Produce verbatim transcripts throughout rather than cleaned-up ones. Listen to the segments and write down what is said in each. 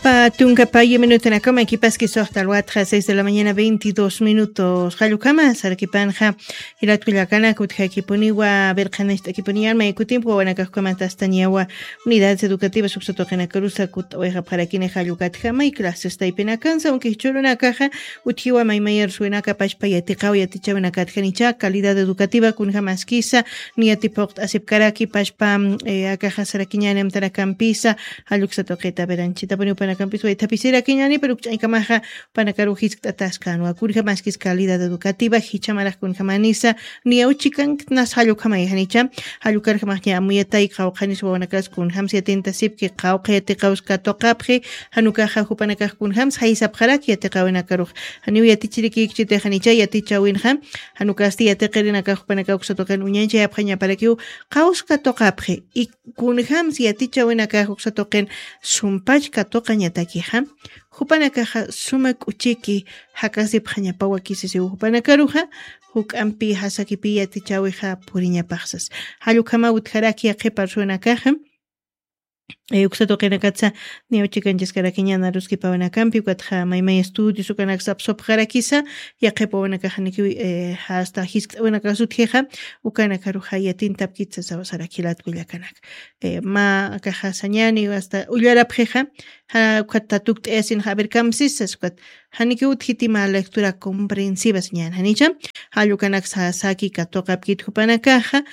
Tunka payu minutanakama kipaski soxta alwatxa seis de la mañana veintidós minutos. Jallukama sarakipanxa, jilatkullakanak utjakipuniwa verqanist'akipuniyan maykutimpwa wanakaxkamantastaniyawa. Unidades educativas uksatuqinakarusa kut'awayxapxarakini jallukatjama y clases taypinakansa aunque jichurunakaxa utjiwa maymayar suwinaka pashpa yatiqaw yatichawinakatjanicha calidad educativa kunjamaskisa niyati phuqt'asipkaraki pashpa. Akaxasarakiñani amtarakampisa. Jalluksa tuqita beranchitapuni upanakampis waythapisirakiñani pero ukch'aykamaxa upanakaru jiskt'ataskanwa kunjamaskis calidad educativa jichamaraq kunjamanisa. Niyawchikanknas jallukhamayjanicha. Jallukarjamaxña amuyatay qawqhanis wawanakas kunjams yatintasipki qawqha yatiqawska tuqapxi. Janukaxa jupanakax kunjams jaysapxaraki yatiqawinakarux. Janiw yatichirikikchitixanicha yatichawinxa. Janukasti yatiqirinakax jupanakax uksa tuqin uñanchayapxañaparakiw qawska tuqapxi. Kunjams yatichawinakax uksa tuqin sumpach katuqañatakixa. Jupanakaxa suma k'uchiki jakasipxañapawa kisisiw jupanakaruxa. Juk'ampi jasakipi yatichawixa puriñapaxsas. Jallukhama utjaraki yaqhipa arsuwanakaxa. Uksa tuqinakatsa niwchikanchiskarakiña naruskipawinakampi ukatxa maymay estudios ukanaksa apsupxarakisa. Yaqhipa wanakaxanikiw hasta jiskt'awinakas utjixa. Ukanakaruxa yatintapkitsa sawasaraki jilatkullakanak. Ma akaxa sañani hasta ullarapxixa. Ukhat tatukt'ayasinxa aver kamsisas ukat janikiw utjiti ma lectura comprensiva sañani janicha. Jallukanak sasaki katuqapkit jupanakaxa.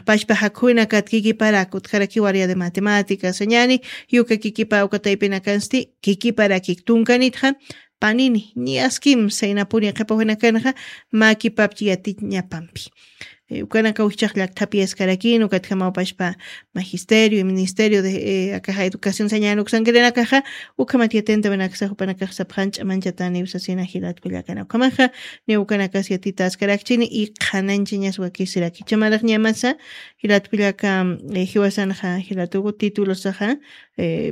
Pashpa jakhuwinakat kikiparak utjaraki waria de matemática sañani. Yuka kikipa ukataypinakansti kikiparakik tunkanitxa. Panini niyaskim saynapuni qhipawinakanxa. Makipapchi yatiñapampi. Ukanakaw jichax llakthapi yaskarakin ukatjamaw pashpa magisterio y ministerio de akaxa educación sañan uksankirinakaxa. Ukhamat yatintawinaksa jupanakax sapxan ch'amanchataniw sasina jilatkullakana ukhamaxa. Niw ukanakas yatitaskarakchini y qhananchañas wakisiraki chamaraqñamasa. Jilatkullaka jiwasanxa jilatuku titulosaxa.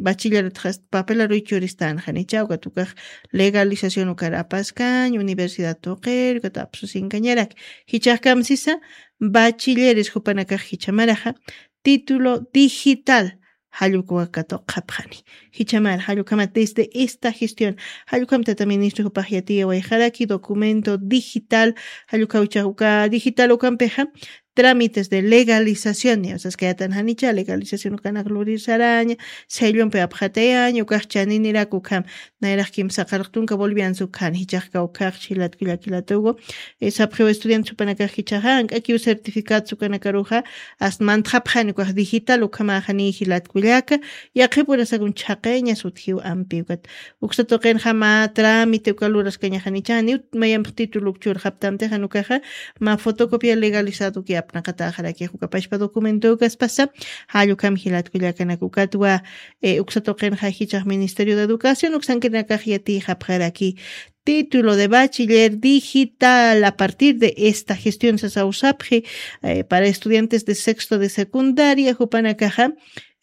Bachilleretxas papelaruy churistanxa nicha ukatukax legalización ukar apaskañ universidad tuqir ukata apsusinkañarak. Jichaxkam sisa bachilleres jupanakax jichamaraxa título digital. Jallukwa katuqapxani. Jichamar jallukama desde esta gestión. Jallukam tata ministro jupax yatiyawayxaraki documento digital. Jallukawchax uka digital ukampixa trámites de legalización niyasaskayatan janicha legalización ukanak lurir saraña. Sellompi apxatayaña ukax chaninirak ukham. Nayraq kimsa qarqtunka boliviansa ukhan jichaxka ukhax jilatkullakilatugu. Sapxiw estudiantes upanakax jichaxa ank'akiw certificados ukanakaruxa. Ast mantxapxani ukax digital ukhamaxani jilatkullaka. Yaqhipurasakun chhaqayañas utjiw ampi ukat. Uksa tuqinxa mä trámite uka luraskañaxanicha janiw mayampx título ukchurxaptamtix janukaxa. Mä fotocopia legalizado uki apnaqataxarakix ukapashpa documento ukaspasa. Jallukam jilatkullakanak ukatwa. Uksa tuqinxa jichax ministerio de educación uksankirinakax yatiyxapxaraki título de bachiller digital a partir de esta gestión sasawsapxi. Para estudiantes de sexto de secundaria jupanakaxa.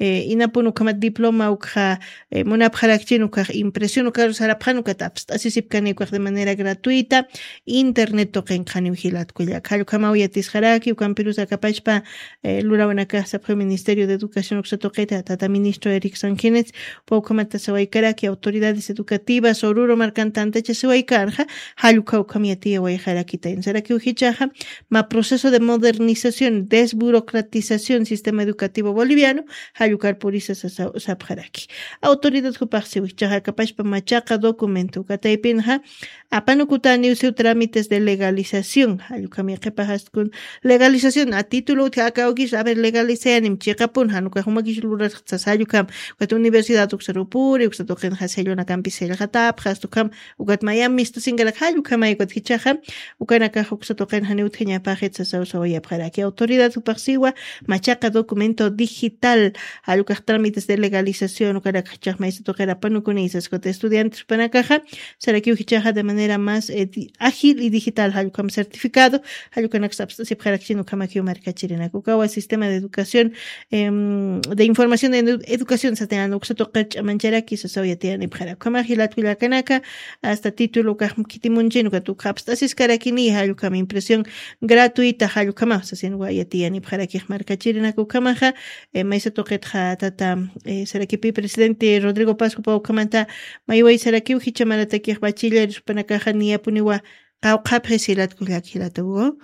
Inapun ukhamat diploma ukxa munapxarakchin ukax impresión ukaru sarapxan ukat apst'asisipkani ukax de manera gratuita. Internet tuqinqaniw jilatkullaka jallukamaw yatisxaraki ukampirus akapachpa. Lurawanakax sapxi ministerio de educación uksa tuqita tata ministro eric sanquines. Pawkhamata sawaykaraki autoridades educativas ururu markan tantachasiwaykarxa. Jallukha ukham yatiyawayxarakita insarakiw jichaxa. Ma proceso de modernización desburocratización sistema educativo boliviano. Jallukar purisa sapxaraki. Autoridad jupaxsiw jichaxa akapashpa machaqa documento ukataypinxa. Apanukutaniw siw trámites de legalización jallukham yaqhipaxastkun. Legalización a título utji aka awkis a ver legalizayanim chiqapun janukax umakis lurasqtsa sallukham. Ukat universidad uksarupuri uksa tuqinxa sellonakampi sellxatapxastukham. Ukat mayam mistusinkarak jallukhamay ukat jichaxa. Ukanakax uksa tuqin janiw utjañapaxit sasawsawayapxaraki autoridad jupaxsiwa. Machaqa documento digital. Jallukax trámites de legalización ukanakax jichax maysa tuqir apanukunisas ukat estudiantes jupanakaxa. Sarakiw jichaxa de manera más ágil y digital jallukam certificado. Jallukanaksa apst'asipxarakchin ukhamakiw markachirinak ukawa sistema de educación de información de educación satayan uksa tuqir ch'amancharaki sasaw yatiyanipxarak ukhamax jilatkullakanaka. Hasta título ukax khitimunchin ukat ukxa apst'asiskarakini jallukam impresión gratuita jallukhamax sasinwa yatiyanipxarakix markachirinak ukhamaxa. Maysa tuqit Yaqha tata, eh, sarakipi presidente Rodrigo Pascupa ukhamanta mayway sarakiw jichamaratakiq bachiller jupanakaxa niyapuniwa qawqhapxi silatkullak jilatuwa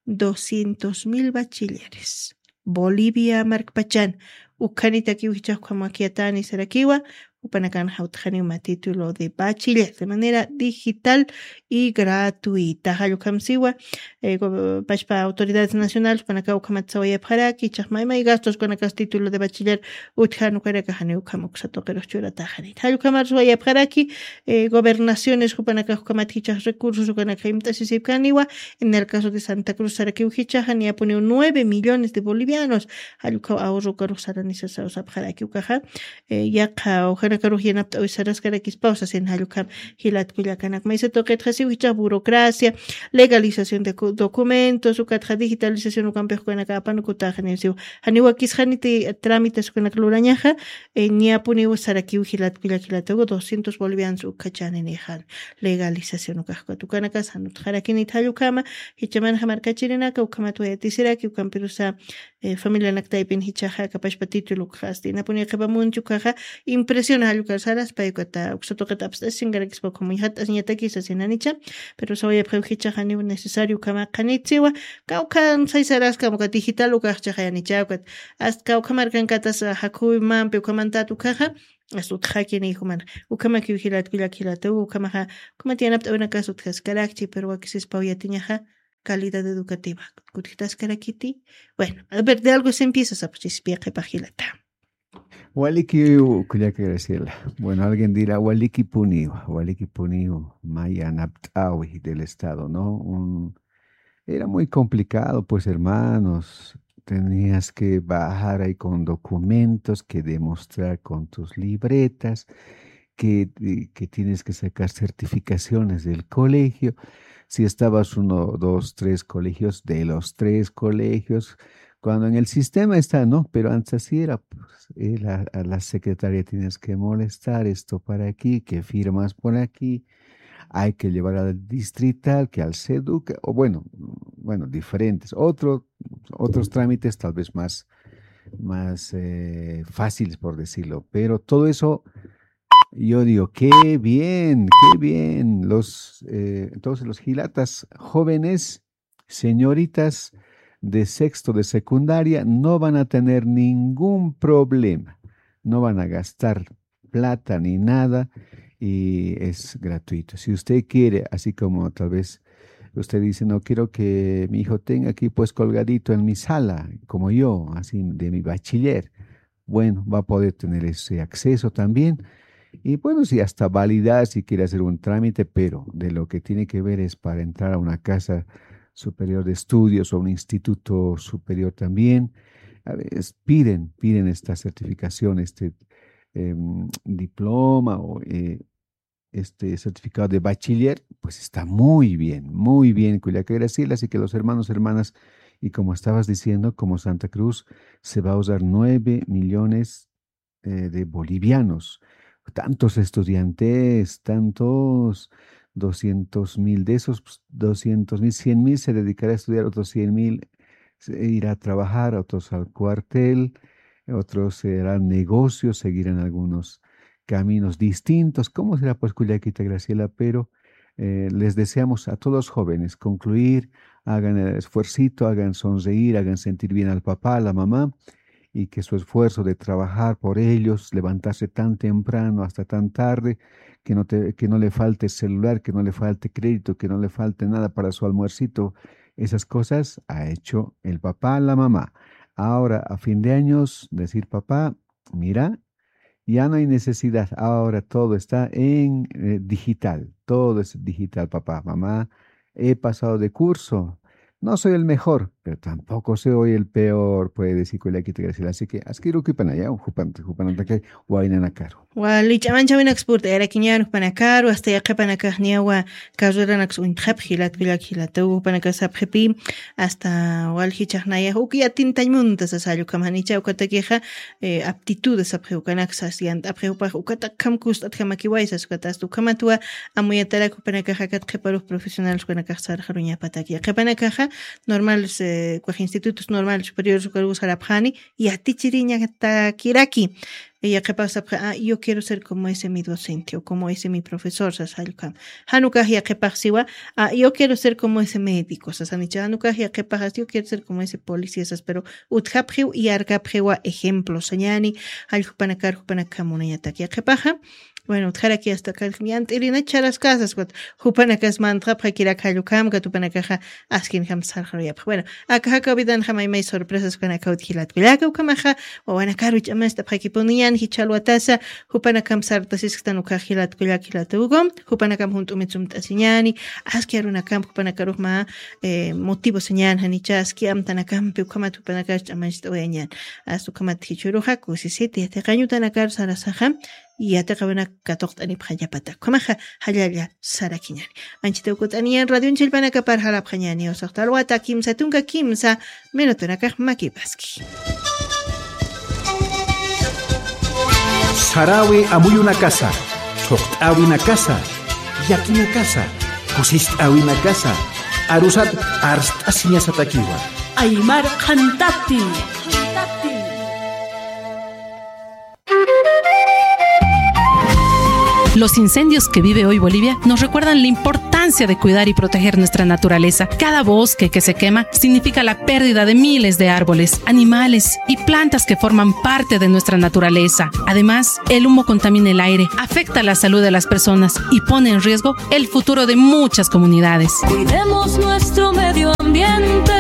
doscientos mil bachilleres. Bolivia markpachan ukhanitakiw jichax ukhamakiyatani sarakiwa, jupanakan jawtxaniw ma título de bachiller de manera digital y gratuita. Jallukhamsiwa, eh, go- pashpa autoridades nacionales panaka ukhamat sawayapxaraki, chaxmaymay gastos kanakas título de bachiller utjan ukanaka jani ukham uksatuqirux churataxanit. Jallukhamar sawayapxaraki, eh, gobernaciones jupanaka ukhamat jichax recursos ukanaka imt'asisipkaniwa, en el caso de Santa Cruz sarakiw jichaxa niyapuniw nueve millones de bolivianos jallukhaw ahorro ukarux saranisa sawsapxaraki ukaxa, eh, yaqha ujanakarux yanapt'awi saraskarakispaw sasin jallukham. Jilat kullakanak maysa tuqitxasiw jichha burocracia, legalización de cu- documentos ukatxa digitalización ukampix ukanaka apanukutaxaniwsiw. Janiwakisxaniti trámites ukanak lurañaxa, eh, ñapuniw sarakiw jilat kullak jilatugu doscientos bolivianos ukhachaninixa. Legalización ukaxkut ukanakas janutxarakinit jallukhama. Jichamanxa markachirinaka ukhamat wayatisiraki ukampirusa, eh, familianak taypin jichaxa kapashpa título ukxasti napuni qhipamunchu ukaxa impresiona jallukar saraspay ukata uksatuqit apst'asinkarakispa ukhamuñjat'asiñatakisa sinanicha. Pero sawayapxiw jichaxa niw necesario ukhama qhanitsiwa. Kawkhan saysaraskam uka digital ukaxchaxa yanicha ukat asta kawkhamarkankatas jakhuwimampi ukhamantat ukaxa asta utxakini jumana. Ukhamakiw jilatkullak jilatuw ukhamaxa ukhamat yanapt'awinakas utjaskarakchi pero wakisispaw yatiñaxa calidad educativa kutjitaskarakiti. Bueno, a ver, de algo se empieza sapxchispiya qhipax jilata. Waliki, kullaka Graciela. Bueno, alguien dirá, waliki puniwa, waliki puniwa, mayanapt'awi del Estado, ¿no? Un, era muy complicado, pues, hermanos. Tenías que bajar ahí con documentos, que demostrar con tus libretas, que, eh, que tienes que sacar certificaciones del colegio. Si estabas uno, dos, tres colegios, de los tres colegios, cuando en el sistema está, ¿no? Pero antes así era, pues, eh, la, a la secretaria tienes que molestar esto para aquí, que firmas por aquí, hay que llevar al distrital, que al seduc, o bueno, bueno, diferentes, otro, otros trámites tal vez más, más eh, fáciles, por decirlo, pero todo eso, yo digo, qué bien, qué bien. Los, eh, entonces los jilatas jóvenes, señoritas de sexto de secundaria, no van a tener ningún problema, no van a gastar plata ni nada y es gratuito. Si usted quiere, así como tal vez usted dice, no quiero que mi hijo tenga aquí pues colgadito en mi sala, como yo, así de mi bachiller, bueno, va a poder tener ese acceso también. Y bueno, sí, hasta validar si quiere hacer un trámite, pero de lo que tiene que ver es para entrar a una casa superior de estudios o un instituto superior también, a veces piden, piden esta certificación, este em, diploma o eh, este certificado de bachiller, pues está muy bien, muy bien, Culiacán Graciela. Así que los hermanos, hermanas, y como estabas diciendo, como Santa Cruz se va a usar nueve millones eh, de bolivianos, tantos estudiantes, tantos doscientos mil, de esos pues, doscientos mil, cien mil se dedicará a estudiar, otros cien mil se irá a trabajar, otros al cuartel, otros harán negocios, seguirán algunos caminos distintos. ¿Cómo será pues Culiaquita Graciela? Pero eh, les deseamos a todos los jóvenes concluir, hagan el esfuercito, hagan sonreír, hagan sentir bien al papá, a la mamá, y que su esfuerzo de trabajar por ellos, levantarse tan temprano hasta tan tarde, que no, te- que no le falte celular, que no le falte crédito, que no le falte nada para su almuercito, esas cosas ha hecho el papá, la mamá. Ahora, a fin de años, decir, papá, mira, ya no hay necesidad, ahora todo está en eh, digital, todo es digital, papá, mamá, he pasado de curso, no soy el mejor, pero tampoco soy el peor, puede decir Culiaquita Graciela. Así que, askiruki panaya, jupan, jupanantake, wainanakaru. Wali ch'amanchawinaks purt'ayarakiñan jupanakaru, hasta yaqhipanakaxniyawa carreranaks uñtxapxi, latkullak jilataw, jupanakasapxipi, hasta waljichaxnayax uki atintañ munta sasallukam janicha ukatakixa, eh, aptitudes apxi ukanaksa siyant'apxi upax ukatakham kust'atjamakiway sas ukatasta ukhamatwa amuyatarak jupanakaxa akat qhiparux profesionales ukanakax sarxaruñapataki qhipanakaxa normal. eh, ukax institutos normal superiores ukaruw sarapxani, yatichiriñatakiraki. Yaqhipax sapxi, ah, yo quiero ser como ese mi docente o como ese mi profesor, sas jallkam. Jan ukax yaqhipax siwa, ah, yo quiero ser como ese médico, sasanicha. Jan ukax yaqhipax, yo quiero ser como ese policía, sas, pero utjapxiw, yarkapxiwa ejemplo sañani, jall jupanakar, jupanakam munañatak yaqhipaxa. Bueno, utjaraki hasta kal yant'irina charaskasas, wat, jupanakas mantxapxakirak jall ukham, kat jupanakaxa askinjam sarxaruyapxa. Bueno, aka jakaw vidanxa maymay sorpresas ukanakaw utji jilat kullaka, ukhamaxa wawanakaru ch'amast'apxakipuniñan jichha alwatasa, jupanakam sartasisktan ukax jilat kullak jilat ukum, jupanakam junt'umit sumt'asiñani, aski arunakam jupanakarux mä, eh, motivo sañan, janicha aski amtanakampi ukhamat jupanakar ch'amancht'awayañan. Hasta ukhamat jichhüruxa kusisiti yatiqañ utanakar sarasaxa, yatiqawinak katuqt'anipxañapata. Ukhamaxa jallalla sarakiñani. Anchhita ukut'aniñan radionchillpanakapar jalapxañani, usaxta alwata kimsa tunka kimsa minutunakax makipaski. Saräwi amuyunakasa, thuqt'äwinakasa, yakinakasa, kusist'äwinakasa, arusat arst'asiñasatakiwa. Aymar qhantati. Los incendios que vive hoy Bolivia nos recuerdan la importancia de cuidar y proteger nuestra naturaleza. Cada bosque que se quema significa la pérdida de miles de árboles, animales y plantas que forman parte de nuestra naturaleza. Además, el humo contamina el aire, afecta la salud de las personas y pone en riesgo el futuro de muchas comunidades. Cuidemos nuestro medio ambiente,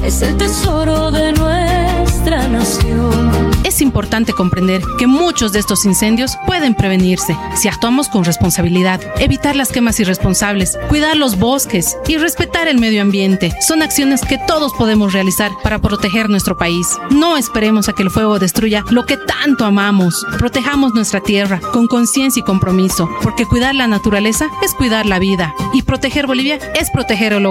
es el tesoro de nuestra nación. Es importante comprender que muchos de estos incendios pueden prevenirse si actuamos con responsabilidad. Evitar las quemas irresponsables, cuidar los bosques y respetar el medio ambiente son acciones que todos podemos realizar para proteger nuestro país. No esperemos a que el fuego destruya lo que tanto amamos. Protejamos nuestra tierra con conciencia y compromiso, porque cuidar la naturaleza es cuidar la vida y proteger Bolivia es proteger el